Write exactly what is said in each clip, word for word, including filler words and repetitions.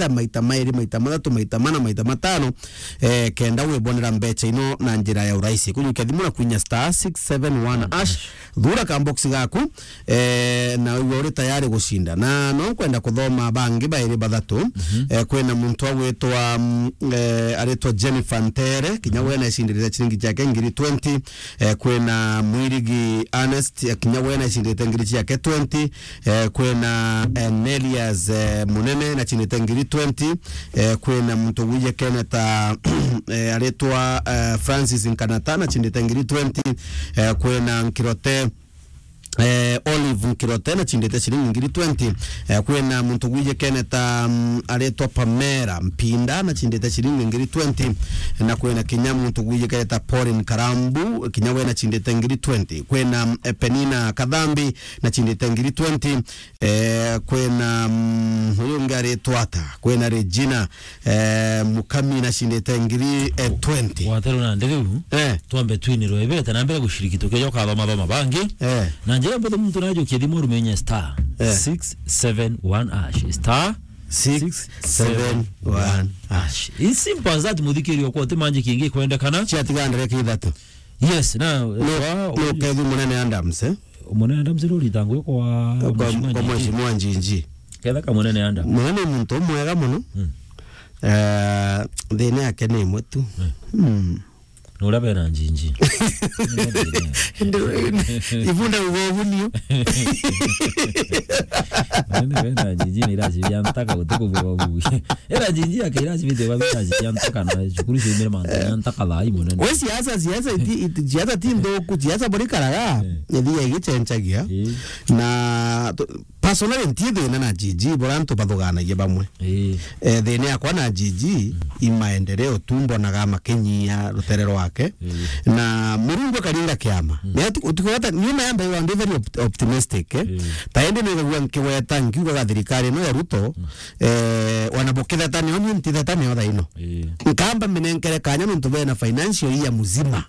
maita mairi, maita mathatu, maita mana, maita matano, eh, kenda wibonera mbecha ino na njira ya urahisi. Kujukia thimu na kwinya star six seven one hash, thura ka box gaku, eh, na wigwe uri tayari gucinda. Na no nkwenda kuthoma bangi bairi bathatu. Eh, kwina muntu agwitwa, mm, eh, aritwa Jennifer Ntere, kinya we naicindiriria ciringi ciake ngiri twenty. Eh, kwina Mwirigi Ernest, eh, kinya we naicindite ngiri ciake twenty. Eh, kwina, eh, Nelias, eh, Munene nacindite ngiri twenty. Eh, kwina muntu gwije Keneta, eh, aritwa, eh, Francis Nkanata nacindite ngiri twenty. Eh, kwina Nkirote, eh, Olive Nkirote nacindite ciringi ngiri twenty. Eh, kwina muntu gwije Keneta, mm, aritwa Pamela Mpinda nacindite ciringi ngiri twenty. Na kwina kinya muntu gwije Keneta Pauline Karambu, kinya we nacindite ngiri twenty. Kwina, eh, Penina Kathambi nacindite ngiri twenty. Eh, kwina, mm, uyu ungi aritwa ata? Kwina Regina, eh, Mukami nacindite ngiri, eh, twenty. Waterwa nandi riu, eh, twambe twinirwe ibete na mbere guciriki tukijoka thoma thoma bangi. Eh. Na njira mbuthu muntu najukia thimu rumenye star, eh, six seven one hash. Star six seven one hash. It's simple as that, muthikiri okwa uti manji kingi kwendekana. Ciatigandire kithatu. Yes, na, no, wa, no, kethu Munene Adams, eh? Munene Adams ri uritangu kwa, kwa Mheshimiwa kwa Njinji. Mheshimiwa Njinji. Ketha ka Munene Adams. Munene ni muntu mwega muno. Mm. Eh, thina yake ni imwe tu. Mm. Mm. Ni uria bena Njinji. Ibunda ugogunio. Munene bena Njinji ni iraci bia ntaka guti kubuga bugi. Era Njinji yake iraci bite ba biraci bia ntaka na cukuru ciumire mantu ya ntaka thaa ii munene. We siasa, siasa iti, iti, siasa ti nthuku, siasa buri karaga, eh, ithiaga igichenjagia. Eh. Na tu-, personally nti thina na Njinji, bura antu bathuganagia bamwe. Eh. Eh, thina yakwa na Njinji, mm, i maendeleo tu mbonaga makinyia rutere rwake. Eh. Na Murungu akaringa kiama. Mm. Ni atu-, utikugata, niuma yamba iwa ndi very opt-, optimistic, eh. Eh. Ta indi nigagua nkigweta nkiugaga thirikari ino ya Ruto, mm, eh, ona bukithetania, oni ntithetania otha ino. Ii. Nkamba minenkere kanya nontu bena financial year muzima.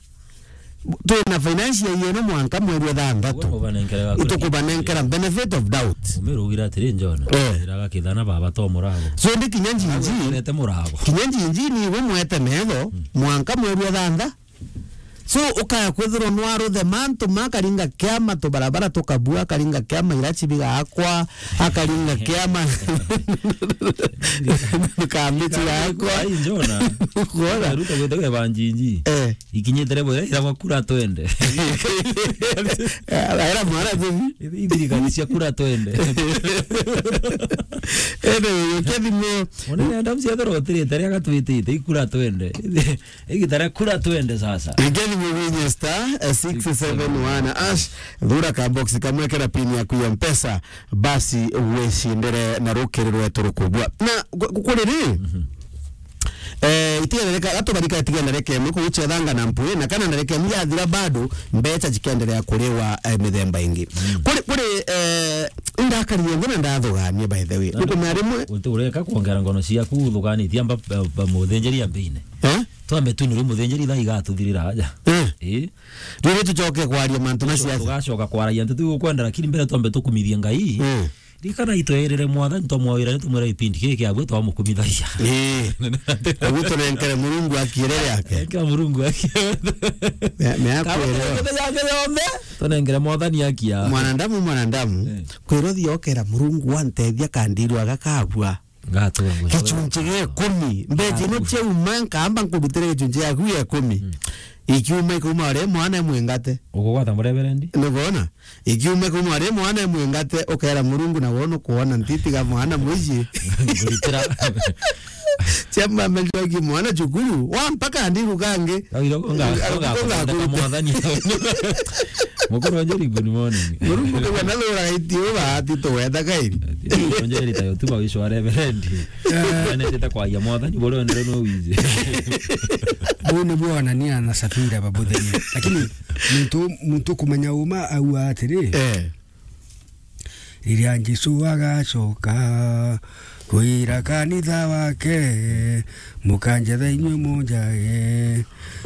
Twina financial year ino mwanka mweri wa thanthatu. Uguo mubanenkere ga kura. Itukubanenkera benefit of doubt. Umirugira atiri, Njona. Eh. Iraga kithana baba to murago. So ndi kinya Njinji. Arete murago. Kinya Njinji ni iwe mwete metho, mm, mwanka mweri wa thantha. So, ukaya kwithirwa nwaruthe mantu ma akaringa kiama, tubarabara tukabua, akaringa kiama irachi bigakwa, akaringa kiama kamiti yakwa. Ai, Njona. Ukwona? Ruto gwite gwe banjinji. Eh. Ikinyite rebo ira, ira gwa kura twende. Era mwana tu. Ithirikari cia kura twende. Ene, yo kethimo. Munene Adams ethirwa utirite ria gatwitite, ikura twende. Igita ria kura twende sasa. Igeni mubinye star, eh, six seven one hash, thura ka box kamwe kera pin yaku ya Mpesa, basi wicindire na rukiri rwetu rukubwa. Na gu-, gu-, kuri ri? Mhm. Eh, itigana reka, gatubarika itigana reka imwe kuguchethanga na mpwi, na kana na reka imwe yathira bado, mbecha jikendelea kuriwa, eh, mithemba ingi. Mm. Kuri, kuri, eh, indakari yonde na ndathugania by the way. Na nukumenya rimwe uti ureka kwongera ngono ciaku uthuganitie amba, ba, ba, muthinjiri ambine. Eh? Twambe tu ni ru muthinjiri thaa igatuthirira aja. Eh. Eh. Riu tucoke kwaria mantu na siasa. Tugacoka kwaragia nteto tugukwenda, lakini mbere twambe tukumithie Ngai. Eh. Rikana itwerere Mwathani twamwawira ni tumwira gipindi kiki kiabwe twamukumithagia. Eh. Ugu tunenkere Murungu akiere yake. Enkera Murungu akiere. Me, me akwere. Kaba yake yombe, tunengere Mwathani akia. Mwanadamu, mwanadamu, eh, kwirwo thiokera Murungu wantethia kandiru agakagua. Gachunchi gia ikumi. Mbeji ino ciauma, nkamba nkurutire gachunchi yaku ya ikumi. Mm. Ikiuma, ikauma ore mwana mwingate. Ukugwata mureverendi? Nubona? Ikiuma, ikauma ore mwana mwingate, ukera Murungu na wono kuona ntiti ga mwana mwici. Ngurutira. Chamba mbeji waki mwana chukuru, wa mpaka ndiru kange. Au iro konga, konga, konga, konga, konga, Mwathani. Mukuru wa Njeri, good morning. Murungu kagwa na thura iti uba ati tuweta kairi. Ati, Njeri tayo tu ba wisho wa reverend. Eh. Ane teta kwa ya Mwathani, bore ndere no wize. Bone bwana ni ana safira babuthenya. Lakini muntu, muntu kumenya uma au atiri. Eh. Riria Jesu agacoka, kwira kanitha wake, mukanjetha inywe munjage,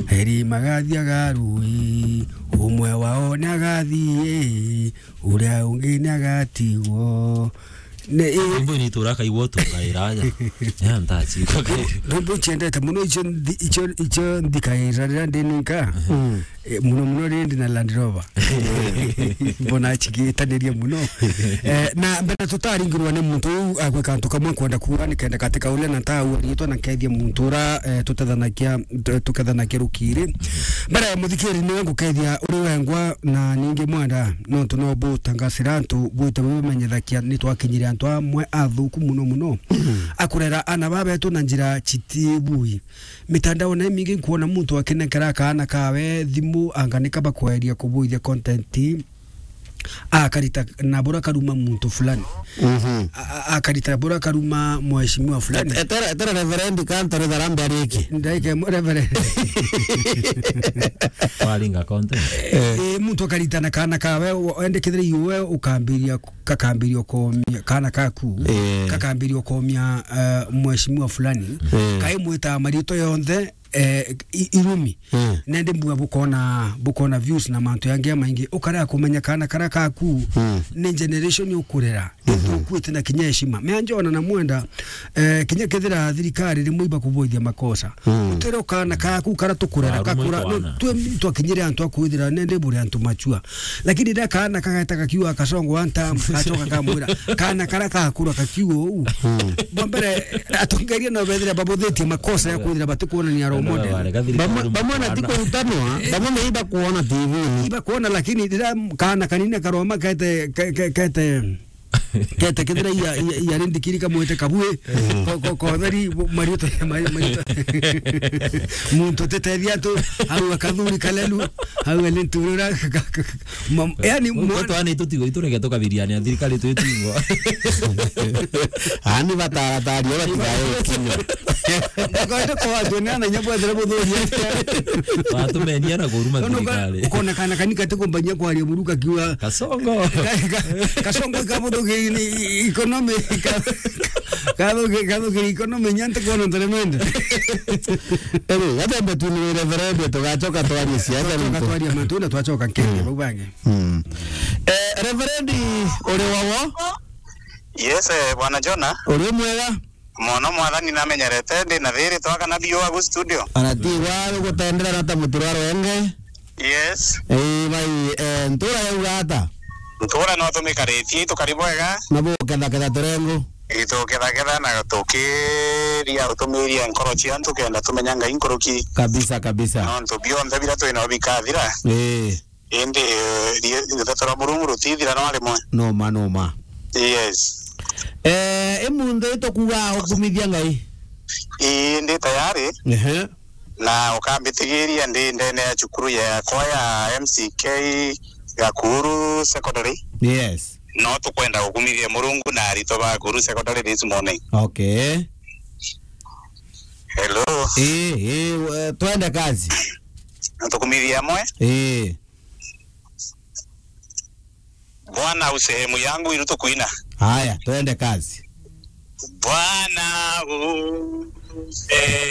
eri magathia garui, umwe wao ni agathie, uria ungi ni agatigwo. Ne, eh, Rwimbo ni itura kaigua tu kairanya. Ya ntachi. Rwimbo iciendete muno icio nthi-, icio, icio nthikaira riria ndi ninka. Mm. Eh, muno muno riria ndi na Land Rover. Mbona chigitaniria muno. Eh, na mbere tutaringirwa ni muntu uu agwika antu kamwe kwenda kuuga nikenda katika ule na tau riitwa na kethia muntu ura, eh, tutethanakia, tu-, tukethanakia rukiri. Mbere ya muthikiri niwe ngukethia uri wengwa na ningi mwenda, nontu no butangasira antu bwite bubimenyethakia ni twakinyire antu amwe athuku muno muno. Akurera ana babetu na njira chiti bui. Mitandao na imingi nkuona muntu akinengera kaana kawe thimu anga nika bakweria kubuithia content. Akarita na bura karuma muntu fulani. Mhm. A-, a-, akarita na bura karuma mheshimiwa fulani. Et-, etera, etera Reverend Kantare Tharambe ariki. Ndaike mu-, Reverend. Waringa content. Eh, muntu akarita na kaana kawe, o-, endekethire iwe ukambiria, kakambiria komia, kaana kaku, Eh. kakambiria komia, eh, mheshimiwa fulani. Eh. Kai mwita marito yonthe, eh, i-, irumi. Mm. Nende mbuga bukona, bukona views na mantu yangi ya maingi. Ukarea kumenya kana karia kaku Mm. ni generation ukurera. Mhm. Nitukuite na kinya heshima. Mea njona na mwenda, eh, kinya kethira thirikari rimwe iba kuboithia makosa. Mm. Utero kana kaku kara tukurera Warumwe kakura. Kwana. No, twe twakinyire antu akwithira nende buri antu machua. Lakini riria kaana kageta gakiuga Kasongo one time, gacoka kamwira, kaana karia gakura gakiuga uu. Mm. Bwa mbere, atongeria no bethira babuthitie makosa ya kwithira batikuonania role model. Bamwe, bamwe na ti kurutanwa, bamwe meiba kuona T V-ini. Iba kuona, lakini riria kaana kanini karoma kete, ke-, ke-, kete, kete kethira iya, iya, iya rindikiri kamwite kabui, ko-, ko-, kotheri, bu-, mariuta, mari-, mariuta. Muntu tetethia tu, au akathuri kalelu, au ni nturura, ka-, ka-, ka-, Mam-, yani, Gwe mwana twana itutigwo iturege tukabiriania thirikari twi tingo. Ani bataratari ora tigae kinya. Kwenda kwa watu ni ana nyabo zira buthuria. Watumenia na kuruma Nono ka-, thirikari. Ukona kana kani kati kumbanyia kwaria buruka kiwa. Kasongo. Ka-, ka-, Kasongo ka buthugi ni economy, ka-, ka-, kathugi, kathugi economy nyante kuona ntaremende. Eri, gatembe tu ni reverend tugachoka twarie siasa. Twachoka nto. Twaria mantu na twachoka Kenya, Mm. bau bangi. Mm. Eh, Reverend, uri wowo? Yes, eh, Bwana Jona. Uri mwega? Mono mwathani namenyerete, ndi na thiri twakana biu agu studio. Arati wa gutendera na ta muturaro enge. Yes. Eh, bai, eh, ntura yauga ata? Ntura no tumikaritie, tukari bwega. Na buketha ketha turengo. Ituketha ketha na tukiria utumiria nkoro cia antu kenda tumenya Ngai nkuruki. Kabisa, kabisa. Nontu bionthe bira twina bikathira. Eh. Indi, eh, rie-, ruthato rwa Murungu rutithira no rimwe. No ma, no ma. Yes. Eh, imunthi tukuga ukumithia Ngai? Ii, ndi tayari. Ehe. Na ukambitigiria ndi ndene ya cukuru yakwa ya M C K Gakuru Secondary. Yes. No tukwenda gukumithia Murungu na aritwa ba Gakuru Secondary this morning. Okay. Hello. Ii, ii, we-, twende kazi. Tukumithia amwe. Ii. Bwana u sehemu yangu iru tukwina. Haya, twende kazi. Bwana u sehemu